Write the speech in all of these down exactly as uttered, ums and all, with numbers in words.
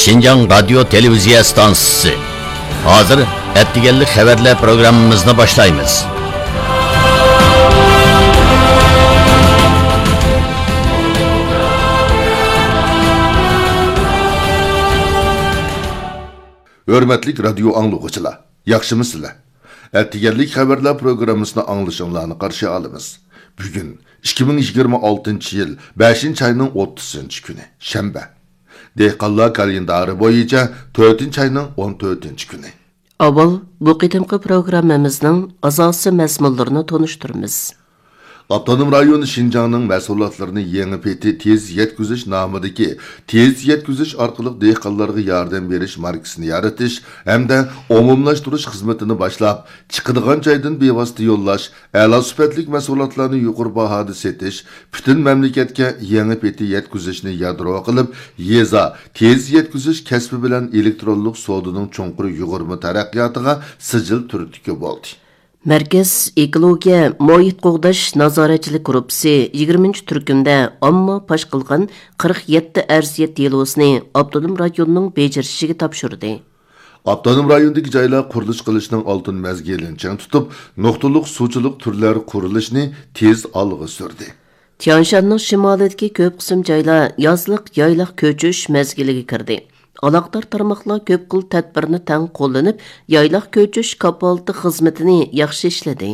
شىنجاڭ رادىيو تېلېۋىزىيە ئىستانسىسى. ھازىر ئەتىگەنلىك خەۋەرلەر پروگراممىمىزنى باشلايمىز. ھۆرمەتلىك رادىيو ئاڭلىغۇچىلار، ياخشىمۇسىلەر؟ ئەتىگەنلىك خەۋەرلەر پروگراممىسىنى ئاڭلىشىڭلارنى قارشى ئالىمىز. بۈگۈن ئىككى مىڭ يىگىرمە ئالتىنچى يىل بەشىنچى ئاينىڭ ئوتتۇزىنچى كۈنى، شەنبە. دېھقانلار كالېندارى بويىچە تۆتىنچى ئاينىڭ ئون تۆتىنچى كۈنى. ئاۋۋال بۇ قېتىمقى پروگراممىمىزنىڭ ئاساسىي مەزمۇنلىرىنى تونۇشتۇرىمىز. ئاپتونوم رايون شىنجاڭنىڭ مەھسۇلاتلىرىنى يېڭى پېتى تېز يەتكۈزۈش نامىدىكى تېز يەتكۈزۈش ئارقىلىق دېھقانلارغا ياردەم بېرىش ماركىسىنى يارىتىش ھەمدە ئومۇملاشتۇرۇش خىزمىتىنى باشلاپ، چىقىدىغان جايدىن بىۋاسىتە يوللاش، ئەلا سۈپەتلىك مەھسۇلاتلارنى يۇقىرى باھادا سېتىش، پۈتۈن مەملىكەتكە يېڭى پېتى يەتكۈزۈشنى يادرو قىلىپ، يېزا تېز يەتكۈزۈش كەسپى بىلەن ئېلېكترونلۇق سودىنىڭ چوڭقۇر يۇغۇرما تەرەققىياتىغا سىجىل تۈرتكە بولدى. مەركەز ئېكولوگىيە مۇھىت قوغداش نازارەتچىلىك گۇرۇپپىسى يىگىرمىنچى تۈركۈمدە ئامما پاش قىلغان قىرىق يەتتە ئەرزىيەت دېلوسىنى ئاپتونوم رايوننىڭ بېجىرىشىگە تاپشۇردى. ئاپتونوم رايوندىكى جايلار قۇرۇلۇش قىلىشنىڭ ئالتۇن مەزگىلىنى چىڭ تۇتۇپ، نۇقتىلىق سۇچىلىق تۈرلەر قۇرۇلۇشىنى تېز ئالغا سۈردى. تيانشاننىڭ شىمالىدىكى كۆپ قىسىم جايلار يازلىق يايلاق كۆچۈش مەزگىلىگە كىردى. ئالاقىدار تارماقلار كۆپ خىل تەدبىرنى تەڭ قوللىنىپ، يايلاق كۆچۈش كاپالىتى خىزمىتىنى ياخشى ئىشلىدى.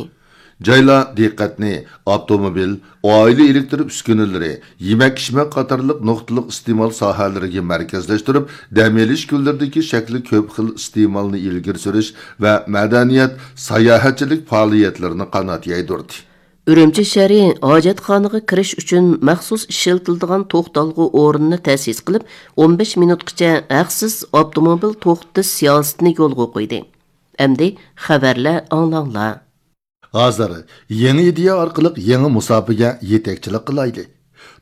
جايلار دىققەتنى ئاپتوموبىل، ئائىلە ئېلېكتر ئۈسكۈنىلىرى، يېمەك-ئىچمەك قاتارلىق نۇقتىلىق ئىستېمال ساھەلىرىگە مەركەزلەشتۈرۈپ، دەم ئېلىش كۈنلىرىدىكى شەكلى كۆپ خىل ئىستېمالنى ئىلگىرى سۈرۈش ۋە مەدەنىيەت، ساياھەتچىلىك پائالىيەتلىرىنى قانات يايدۇردى. ئۈرۈمچى شەھىرى ھاجەتخانىغا كىرىش ئۈچۈن مەخسۇس ئىشلىتىلىدىغان توختالغۇ ئورنىنى تەسىس قىلىپ، ئون بەش مىنۇتقىچە ھەقسىز ئاپتوموبىل توختىتىش سىياسىتىنى يولغا قويدى. ئەمدى خەۋەرلەر ئاڭلاڭلار. ھازىر يېڭى ئىدىيە ئارقىلىق يېڭى مۇساپىگە يېتەكچىلىك قىلايلى.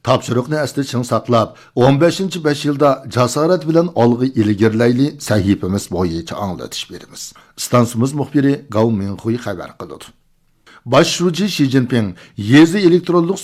تاپشۇرۇقنى ئەستە چىڭ ساقلاپ، ئون بەشىنچى بەش يىلدا جاسارەت بىلەن ئالغا ئىلگىرىلەيلى سەھىپىمىز بويىچە ئاڭلىتىش بېرىمىز. ئىستانسىمىز مۇخبىرى گاۋ مىڭخۇي خەۋەر قىلىدۇ. باش شۇجى شى جىنپىڭ يېزا ئېلېكترونلۇق